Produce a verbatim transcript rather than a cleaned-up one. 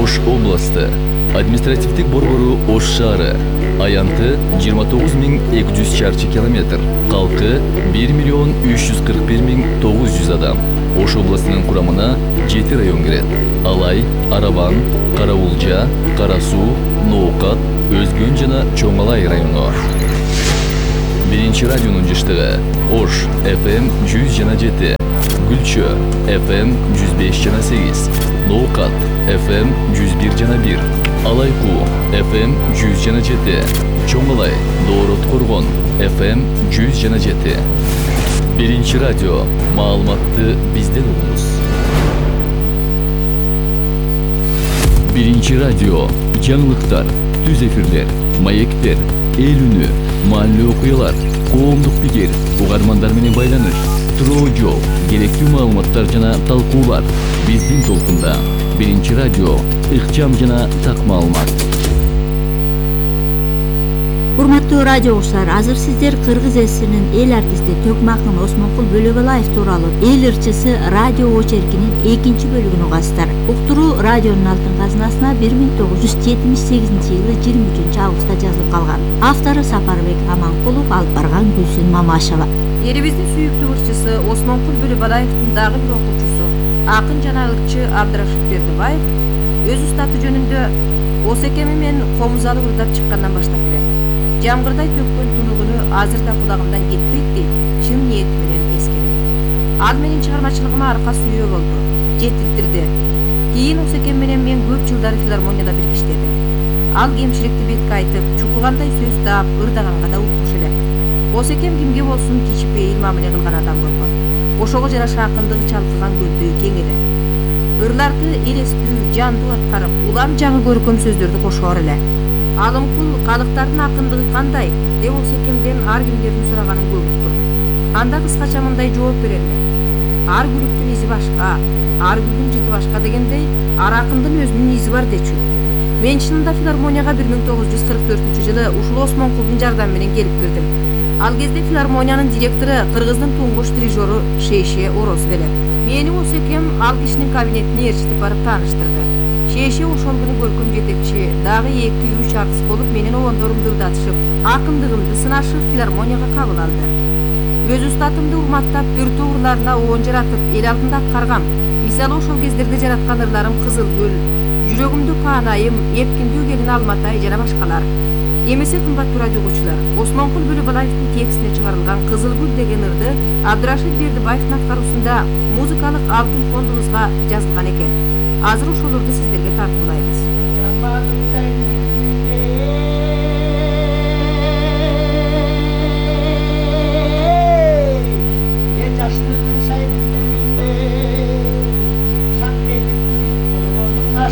Ош областы. Административдик борбору Ош шаары. Аянты жыйырма тогуз миң эки жүз чарчы километр. Калкы бир миллион үч жүз кырк бир миң тогуз жүз адам. Ош областынын курамына жети район кирет. Алай, Араван, Караулжа, Кара Суу, Ноокат, Өзгөн жана Чоң Алай району. Биринчи радионун жыштыгы Ош эф эм жүз жана жети, Гүлчө эф эм жүз беш жана сегиз, Ноокат эф эм жүз бир жана бир, Алайкуу эф эм жүз жана жети, Чоң Алай, Доорот Коргон эф эм жүз жана жети. Биринчи радио, маалыматты бизден угуңуз. Биринчи радио, жаңылыктар, түз эфирлер, маектер, эл үнү, маалле окуялар, коомдук пикир, угармандар менен байланыш, туроо жол, керектүү маалыматтар жана талкуулар. Биздин толкунда Биринчи радио, ыкчам жана так маалымат. Урматтуу радио угуучулар, азыр сиздер Кыргыз элинин эл артисти Төкмакын Осмонкул Бөлөбалаев тууралуу эл ырчысы радио очеркинин экинчи бөлүгүн угасыздар. Уктуруу радионун алтын казынасына бир миң тогуз жүз жетимиш сегизинчи жылы жыйырма үчүнчү августта жазылып калган. Автору Сапарбек Аманкулов, алып барган Гүлсүн Мамашева. Элибиздин сүйүктүү ырчысы Осмонкул Бөлөбалаевдин дагы бир окуучусу, акын жана ырчы Абдрашит Бердибаев өз устаты жөнүндө Осекеми мен Комузалы ырдап чыккандан баштап билем. Жамгырдай төккөн тунугуну азыр да кулагымдан кетпейт дейт, чын ниети менен эскерет. Ал менин чыгармачылыгыма арка сүйөө болду, жетиктирди. Кийин Осекем менен мен көп жылдары филармонияда бирге иштедим. Ал кемчиликти бетке айтып, чукугандай сөз таап, ырдаганга да укмуш эле. Осекем кимге болсун кичипейил мамиле кылган адам болгон. Ошого жараша акындыгы чалкыган көлдөй кең эле. Ырларды элестүү, жандуу аткарып, улам жаңы көркөм сөздөрдү кошоор эле. Алымкул калыктардын акындыгы кандай деп Осекемден ар кимдердин сураганын көп уктум. Анда кыскача мындай жооп берелмек. Ар күлүктүн изи башка, ар гүлдүн жыты башка дегендей, ар акындын өзүнүн изи бар дечү. Мен чынында филармонияга бир миң тогуз жүз кырк төртүнчү жылы ушул Осмонкулдун жардамы менен келип кирдим. Ал кезде филармониянын директору Кыргыздын туңгуч дирижеру Шейше Орозов эле. Мени Осекем ал кишинин кабинетине ээрчитип барып тааныштырды. Шейше ошол күнү көркөм жетекчи, дагы эки үч артист болуп менин обондорумду ырдатышып, акындыгымды сынашып филармонияга кабыл алды. Өз устатымды урматтап, бүртүү ырларына оон жаратып, эл алдында аткаргам. Мисалы ошол кездерде жараткан ырларым Кызыл гүл, Жүрөгүмдү Паанайым, Эпкиндүү келин Алматай жана башкалар. Эмесе кымбаттуу радио угуучулар, Осмонкул Бөлөбалаевдин текстине чыгарылган Кызыл гүл деген ырды Абдрашит Бердибаевдин аткаруусунда музыкалык алтын фондубузга жазылган экен. Азыр ошолорду сиздерге тартуулайбыз. Жаштын сайын